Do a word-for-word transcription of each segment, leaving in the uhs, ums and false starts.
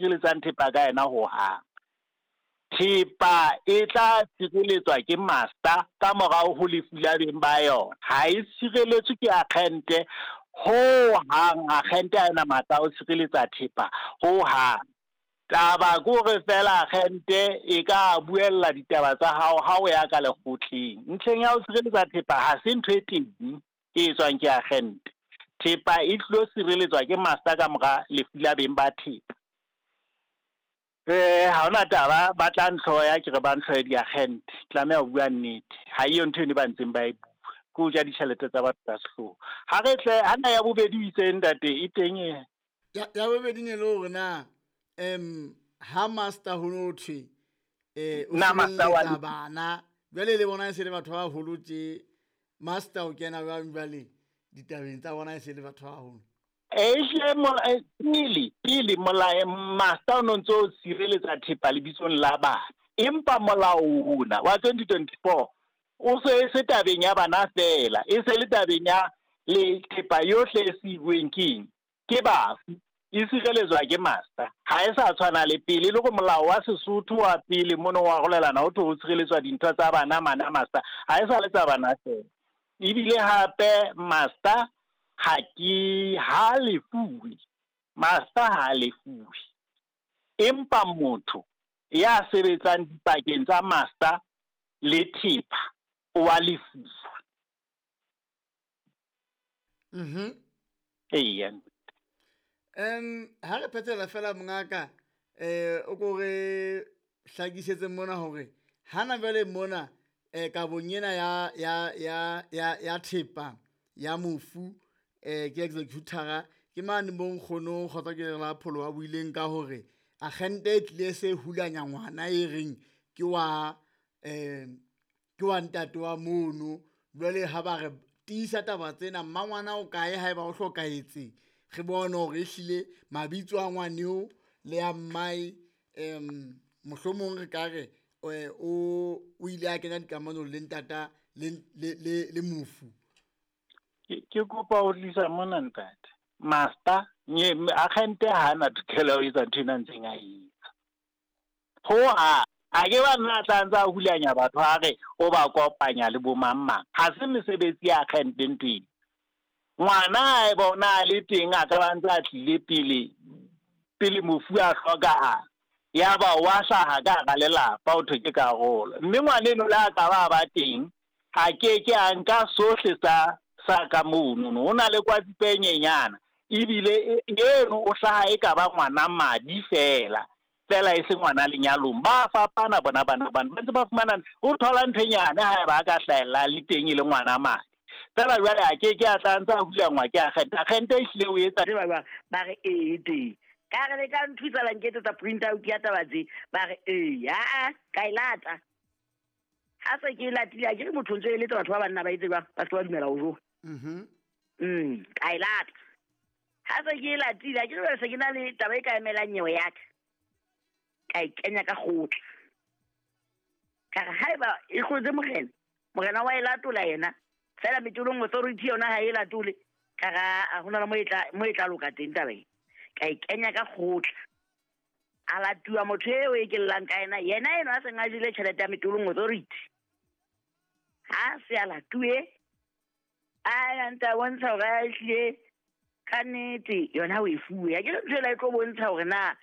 sireletsang thepa ka yena ho hang. Thepa e tla sireletswa ke master ka morao ho lefu la beng ba yona. Ha e sireletswe ke agente ho hang, agente ha ena matla a ho sireletsa thepa ho hang. Taba ke hore feela agente e ka buella ditaba tsa hao ha o ya ka lekgotleng. Ntlheng ya ho sireletsa thepa ha se ntho e teng e etswang ke agente. Thepa e tlo sireletswa ke master ka mora lefu la beng ba thepa. Eh ha hona taba ba tla ntlhoya ke re ba ntlhoye di-agente. Tlameha ho bua nnete. Ha eyo ntho eno ba ntseng ba e bua. Ke ho ja ditjhelete tsa batho ka sehloho. Ha re tle hana ya bobedi o itseng ntate e teng e. Ya ya bobedi ne le hore na em ha master ho no thwe eh o Na master wa sireletsa bana jwale le bona e se le batho ba baholo tje, master o kena jwang jwale ditabeng tsa bona e se le batho ba baholo? Ehlile mola pele pele molao master o no ntso sireletsa thepa lebitsong la bana, empa molao ona wa twenty twenty-four o se se tabeng ya bana fela, e se le tabeng ya le thepa yohle e siuweng keng ke bafu, e sireletswa ke master. Ha e sa tshwana le pele, le hore molao wa Sesotho wa pele mono wa rolelana ho thwe ho sireletswa dintho tsa bana mana master, ha e sa le tsa bana fela. Ebile hape master ha ke ha lefuwe, master ha lefuwe, empa motho ya sebetsang dipakeng tsa master le thepa o wa lefuwa. Mhm. Eya. Em ha re phethela fela mongaka, eh o ko re hlakisetse mona hore hana jwale mona eh kabong ena ya ya ya ya ya thepa ya mofu eh ke executor ke mane mo nkgono kgotsa ke la pholo wa buileng ka hore agente e tlile se hulanya ngwana e reng ke wa eh ke wa ntate wa mono. Jwale ha ba re tiisa taba tsena, mmangwana o kae haeba o hlokahetse, re bone hore ehlile mabitso a ngwaneo le a mmae em mohlomong re ka re o o ile a kenya dikamanong le ntata le le le le mofu. Ke ke kopa ho tlisa mona ntate. Master nye agente ha na tokelo ya ho etsa ntho ena ntseng a etsa. Ho ha a ke ba nna tla ntsa hulanya batho ha re o ba kopanya le bo mang mang. Ha se mesebetsi ya agente ntho eno. Ngwana a e bona a le teng a ka ba ntse a tlile pele pele mofu a hlokahala, ya ba wa hlaha ka hara lelapa ho thwe ke karolo. Mme ngwaneno le a ka ba ba teng a ke ke a nka sohle sa sa ka mono. Ho na le kwatsipe e nyenyana ebile eno o hlaha e ka ba ngwana madi fela fela e se ngwana lenyalong. Ba fapana bona bana bana ba ntse ba fumana o thola ntho e nyane ha ba ka hlahella le teng e le ngwana madi fela. Jwale a ke ke a tla ntse a hulangwa ke agente. Agente e hlile o etsa ba ba ba re ee teng ka re le ka nthusa la nketsetsa print out ya taba tse, ba re ee a ka e lata. Ha se ke e latile a ke re motho ntse e eletsa batho ba banna ba etse jwang ba se ba dumela ho jowa. Mhm. Mm ka e lata. Ha se ke e latile a ke re se ke na le taba e ka emelang nyewe ya ka, ka e kenya ka kgotla. Ka re haeba e hlotse morena, morena wa e latola yena fela metolong authority yona ha e latole, ka ra a hona le mo e tla mo e tla loka teng taba e. Ka e kenya ka kgotla, a latuwa motho eo e ke llang ka yena, yena eno a seng a jele tjhelete ya metolong authority. Ha se a latuwe, a ya ntse a bontsha hore a ehlile ka nnete yona o e fuwe. Ha ke re ntho ena e tlo bontsha hore na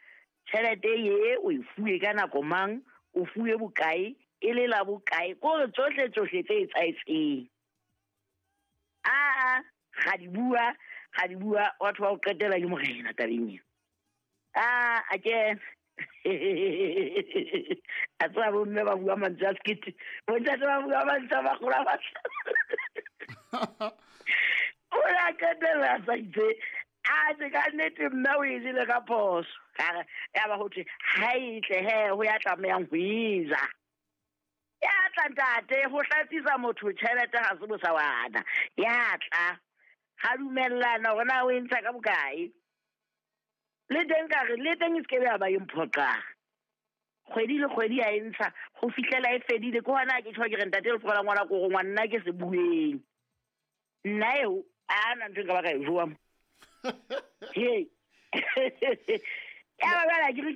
tjhelete ye o e fuwe ka nako mang, o fuwe bokae, e le la bokae, ke hore tsohle tsohle tse etsahetseng. Aa, ga di bua, ga di bua, batho ba o qetela ke morena tabeng ena. Ah, a ke a tseba bomme ba bua mantswe a sekete, bontate ba bua mantswe a magolo a mahlano. O la qetella a sa itse, a se ka nnete mme o e jele ka phoso. Ka re, ya ba ho thwe, ha e tle he, ho ya tlamehang ho e ja. Ya tla ntate, ho hlatsisa motho tjhelete ha se bosawana. Ya tla, ha dumellana hore na o e ntsha ka bokae. Le teng ka re, le teng e se ke be ya ba e mphoqang. Kgwedi le kgwedi ya e ntsha ho fihlela e fedile. Ke hona ke tjho ke re ntate le tlohela ngwana ko go ngwanna ke se bueng. Nna eo a na ntho e nka ba ka e jowa mo. He. Ya ba jwale ha ke re.